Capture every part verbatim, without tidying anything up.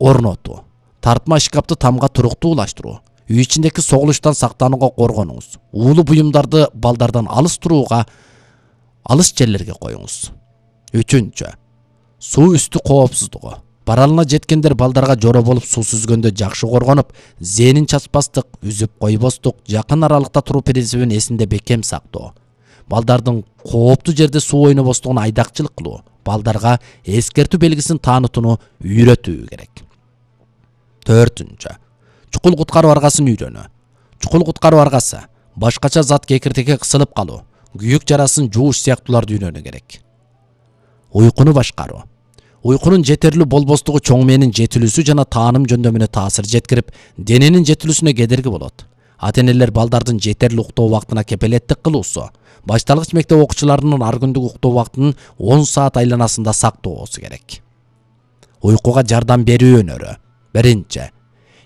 орнотуу, тартма шкапты тамга туруктуулаштыруу, үй ичиндеги согулуштан сактанууга коргонуңуз. Уулуу буюмдарды балдардан алыс турууга, алыс жерлерге коюңуз. Үчүнчү. Суу үстү коопсуздугу. Баралына жеткендер балдарга жоро болуп суу сүзгөндө жакшы коргонуп, зээнин чачпастык, үзүп койбостук, жакын аралыкта туруу принцибин эсинде бекем сактоо. Балдардын кооптуу жерде суу ойнобостугун айдакчылык кылуу, балдарга эскертүү белгисин таанытууну үйрөтүү керек. Төртүнчү. Чукул куткаруу аргасын үйрөнүү. Чукул куткаруу аргасы башкача зат кекиртекке кысылып калуу, күйүк жарасын жууш сыяктууларды үйрөнүү керек. Уйкуну башкаруу. Уйкунун жетерлүү болбостугу чоң мээнин жетилүүсү жана тааным жөндөмүнө таасир жеткирип, дененин жетилүүсүнө кедерги болот. Ата-энелер балдардын жетерлүү уктоо убактына кепилеттик кылуусу, башталгыч мектеп окуучуларынын ар күндүк уктоо убактын он саат айланасында сактоосу керек. Уйкуга жардам берүү өнөрү. Биринчи.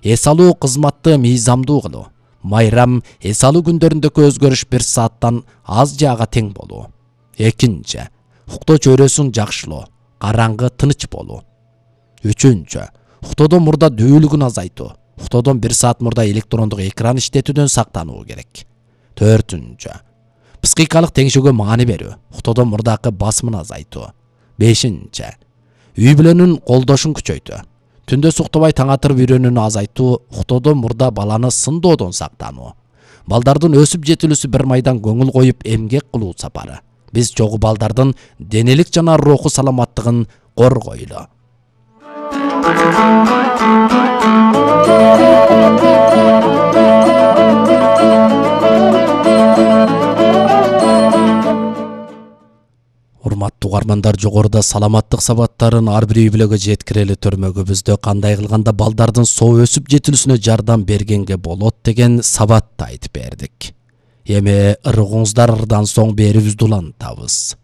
Эс алуу кызматты мыйзамдуу кылуу. Майрам эс алуу күндөрүндөгү өзгөрүш бир сааттан аз жаага тең болуу. Экинчи. Уктоо чөйрөсүн жакшылоо, караңгы тыныч болуу. Үчүнчү. Уктоодон мурда дүүлүгүн азайтуу. Уктоодон бир саат мурда электрондук экран иштетүүдөн сактануу керек. Төртүнчү. Психикалык теңшөөгө маани берүү. Уктоодон мурдакы басымын азайтуу. Бешинчи. Үй бүлөнүн колдошун күчөйтүү. Түндө суктабай таң атырып үйрөнүүнү азайтуу, уктоодон мурда баланы сындоодон сактануу. Балдардын өсүп жетилүүсү бир майдан көңүл коюп эмгек кылуу сапары. Биз чогуу балдардын денелик жана руху саламаттыгын коргойлу. Урматтуу угармандар, жогоруда саламаттык сабаттарын ар бир үй бүлөгө жеткирели төрмөгүбүздө кандай кылганда балдардын соо өсүп жетилүүсүнө жардам бергенге болот деген сабатты айтып бердик. Эми ырыгыңыздардан соң берүүбүздү улантабыз.